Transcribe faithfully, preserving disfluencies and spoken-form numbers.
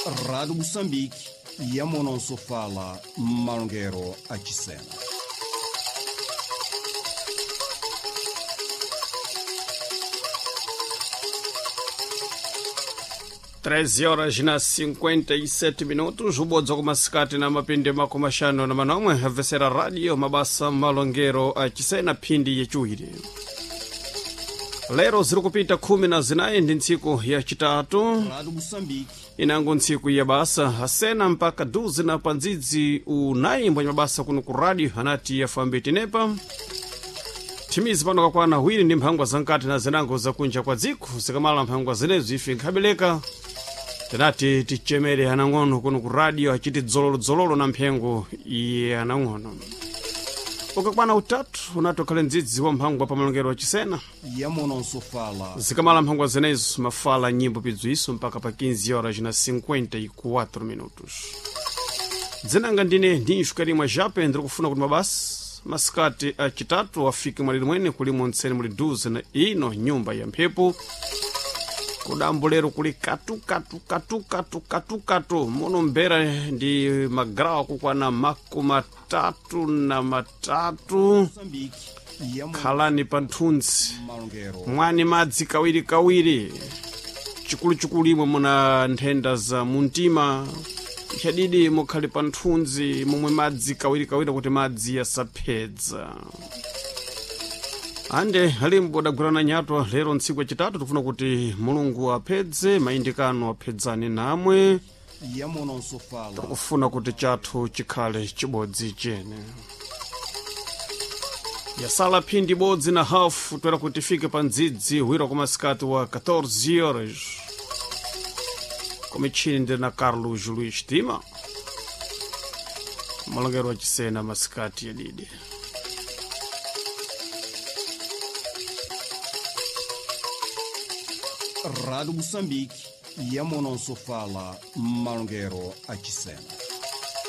Rádio Moçambique, Yamonosofala, Malongero Achisena. treze horas na cinquenta e sete minutos, ubodza kumasikati na mapindi makumi axanu na manomwe avesera radio mabasa malongero achisena phindi yaciwiri. Lero ziri kupita khumi na zinayi ndi ntsiku yacitatu, Rádio Moçambique, inango ntsiku ya basa asena mpaka duzi na pandzidzi unayi mbwanya mabasa kuno ku radio anati yafambe tenepa thimizi pano kakwana hwiri ndi mphangwa zankati na zinango zakunja kwa dziko. Zikamala mphangwa zinezo ife nkhabeleka tinati tichemere anang'ono kuno ku radio achiti dzololodzololo na mphengo iye anang'ono. Ukakwana utatu unati ukhale mdzidzi wa mphangwa pa malongero achisena. Yamonosofala, Zikamala mphangwa zinezo mafala nyimbo pidziwiso mpaka pa quinze horas na cinquenta e quatro minutos. Dzinanga ndine ndinxu karimwa jape ndiri kufuna kuti mabasa masikati acitatu afike mwaliri mwene kulimo ntsene muli duze na ino nyumba ya mphepo kudambo lero kuli katukatu katukatu katukatu muno mbera ndi magrawa kukwana makumi atatu na matatu. Moçambique, Yamono Khalani pa nthunzi, Malongero, mwani madzi kawirikawiri, chikuluchikulu imwe muna nthenda za muntima chadidi mukhale pa nthunzi momwe madzi kawirikawiri kuti madzi asaphedza. Ande alimbo adagwirana nyatwa lero ntsiku yacitatu tikufuna kuti Mulungu aphedze mayindikano aphedzane namwe. Yamonosofala, Tikufuna kuti chathu chikhale chibodzi chene. Yasala phindi ibodzi na hafu toera kuti tifike pa ndzidzi hwira kwa masikati wa catorze horas. Komichini ndi na Carlos Luis Tima malongero achisena masikati yadidi. Rádio Moçambique, Yamonosofala, Malongero Achisena.